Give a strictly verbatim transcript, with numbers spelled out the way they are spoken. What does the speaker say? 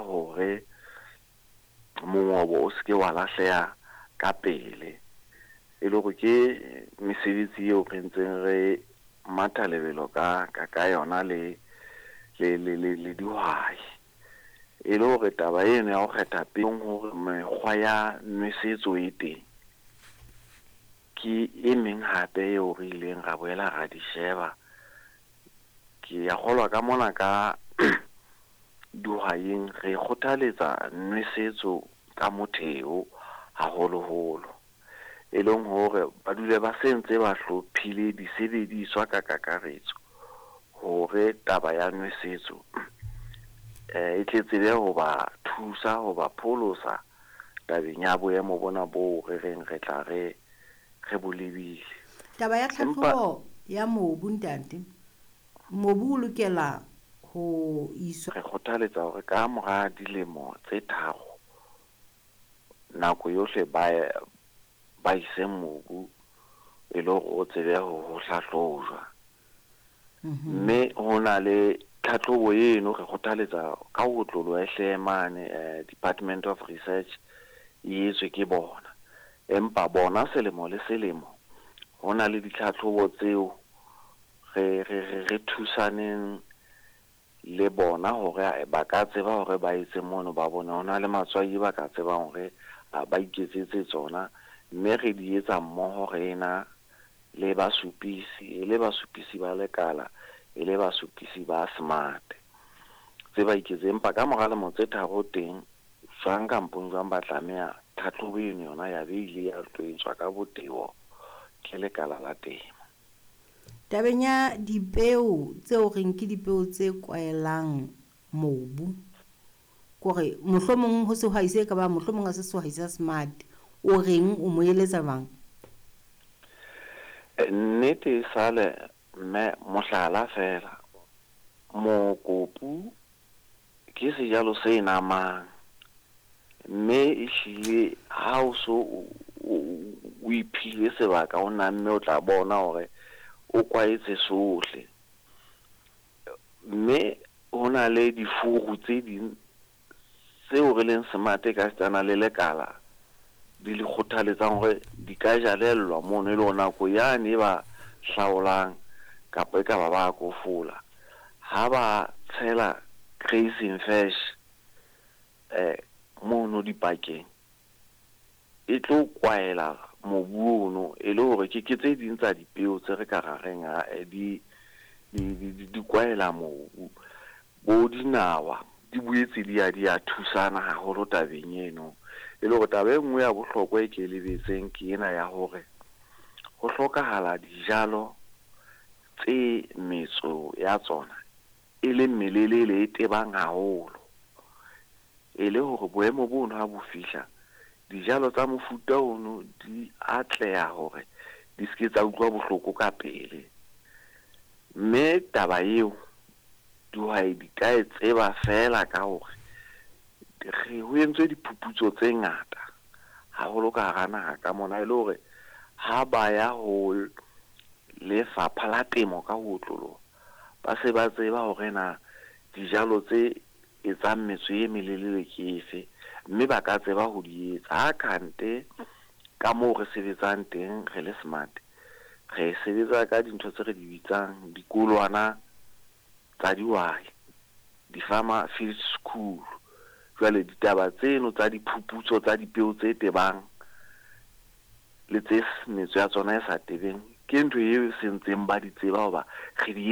hore mongobo o se ke wa lahleha ka pele. E le hore ke mesebetsi eo re ntseng re matha lebelo ka ka ka yona le le le le le dihwai. E le hore taba eno ya ho kgetha peo hore mekgwa ya nwesetso e teng ke e meng hape eo re ileng ra boela ra di sheba. Ke ya kgolwa ka mona ka dihwaing re kgothaletsa nwesetso ka motheo haholoholo, e leng hore ba dule ba sentse ba hlophile disebediswa ka kakaretso hore taba ya nwesetso eh e tle tsebe ho ba thusa ho ba pholosa tabeng ya boemo bona boo re reng re tla re re bo lebile. Taba ya tlhahlobo ya mobu, ntate, mobu o lokela ho iswa. Re kgothaletsa hore ka mora dilemo tse tharo nako yohle ba ba ise mobu e le hore o tsebe ho ho hlahlojwa. Mme ho na le tlhatlhobo eno re kgothaletsa ka ho otloloha e hle mane eh, Department of Research e etswe ke bona. Empa bona selemo le selemo ho na le ditlhatlhobo tseo re re re re thusaneng le bona hore ba ka tseba hore ba etse mono ba bone ho na le matswai ba ka tsebang hore ba iketsetse tsona, mme re di etsa mmoho re ena le basupisi, e le basupisi ba lekala, e le basupisi ba smart tse ba iketse. Empa ka mora lemo tse tharo teng jwang kampong jwang ba tlameha tlhatlhobo eno yona ya be ile ya tlo etswa ka botebo ke lekala la temo. Tabeng ya dipeo tseo reng ke dipeo tse kwaelang mobu, kore mohlomong ho sehwai se ka bang mohlomong ha se sehwai sa smart, o reng o mo eletsa jwang? Nnete e sale mme mohlala fela, mokopu ke sejalo se namang, mme ehlile ha o so o iphile sebaka o namme o tla bona hore o kwaetse sohle. Mme ho na le difuru tse ding tseo re leng smart ka setsana le lekala di le kgothaletsang hore di ka jalellwa mono, e le hore nako yane e ba hlaolang kapa e ka ba ba kofola ha ba tshela grazing fresh eh mono dipakeng e tlo kwaela mobu ono, e le hore ke ke tse ding tsa dipeo tse re ka ra reng ha di di di di kwaela mobu. Bo dinawa di boetse di ya di ya thusana haholo tabeng eno. E le hore taba e nngwe ya bohlokwa e ke e lebetseng ke ena ya hore ho hlokahala dijalo tse metso ya tsona e leng melelele e tebang haholo, e le hore boemo bono ha bo fihla dijalo tsa mofuta ono di atleha hore di se ke tsa utlwa bohloko ka pele. Mme taba eo dihwai di ka e tseba feela ka hore re ho entswe diphuputso tse ngata haholo ka hara naha ka mona, e le hore ha ba ya ho lefapha la temo ka ho otloloha ba se ba tseba hore na dijalo tse etsang metso e melelele ke efe, mme ba ka tseba ho di etsa. Ha kante ka moo re sebetsang teng re le smart, re sebetsa ka dintho tse re di bitsang dikolwana tsa dihwai, di-farmer field school. Jwale ditaba tseno tsa diphuputso tsa dipeo tse tebang le tse metso ya tsona e sa tebeng ke ntho eo sentseng ba di tseba hoba re di